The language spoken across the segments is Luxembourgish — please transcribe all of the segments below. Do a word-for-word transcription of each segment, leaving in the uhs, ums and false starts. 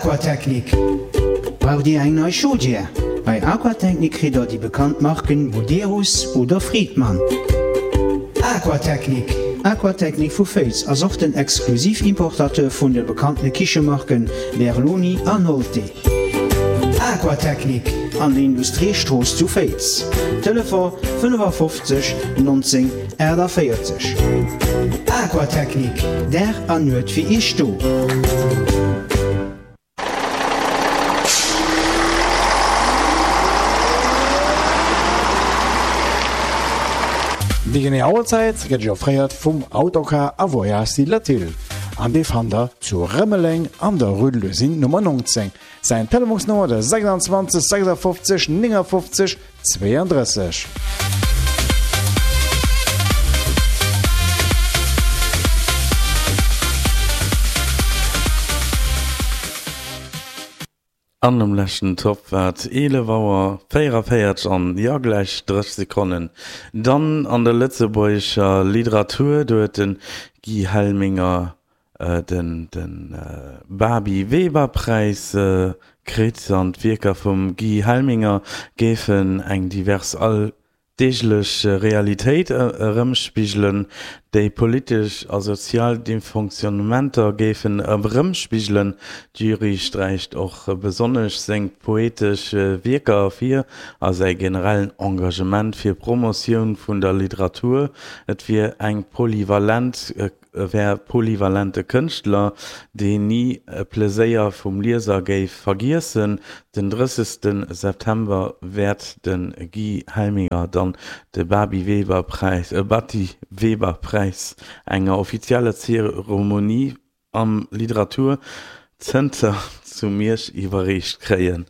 Aquatechnik. Braucht Dir eng nei Chaudière? Bei Aquatechnik kritt der déi bekannt Marken Buderus oder Friedmann. Aquatechnik. Aquatechnik vu Féiz ass och den Exklusiv-Importateur vun de bekannte Kichemarken Berloni an Nolte. Aquatechnik an der Industriestrooss zu Féiz. Telefon fënnefafofzeg neunzéng achtundvierzig. Aquatechnik, Dag an Nuet fir Iech do. Déi genee Auerzäit gëtt Iech offréiert vum Autocar a Voyages Latil an dee fannt der zu Rëmeleng an der Rue de l'Usine Nummer neunzéng. Säin Telefonsnummer de sechsundzwanzeg sechsundfünfzig neunundfünfzig zweiunddrësseg. An um leschten Topp war et eelef Auer véierevéierzeg an, jo, gläich drësseg Sekonnen. Dann an der lëtzebuergescher Literatur, do huet de Guy Helminger den Babi Weber Präis kritt an d'Wierker vum Guy Helminger géifen eng divers alldeeglech Realitéit erëmspigelen, déi politesch a sozial Dysfonctionnementer géifen erëmspigelen. D'Jury sträicht och besonnesch seng poetesch Wierker ervir a säi generellen Engagement fir d'Promotioun vun der Literatur. Et wier eng polyvalent E wär polyvalente Kënschtler, deen ni e Pleséier vum Lieser géif vergiessen. Den drëssegste September wäert de Guy Helminger dann de Babi Weber Präis, Batty Weber Präis enger offizieller Zeremonie am Literatur Zenter zu Miersch iwwerreecht kréien.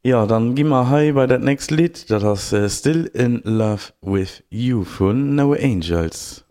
Jo, dann gi mer hei bei dat nächst Lidd, dat ass Still in Love with You vun No Angels.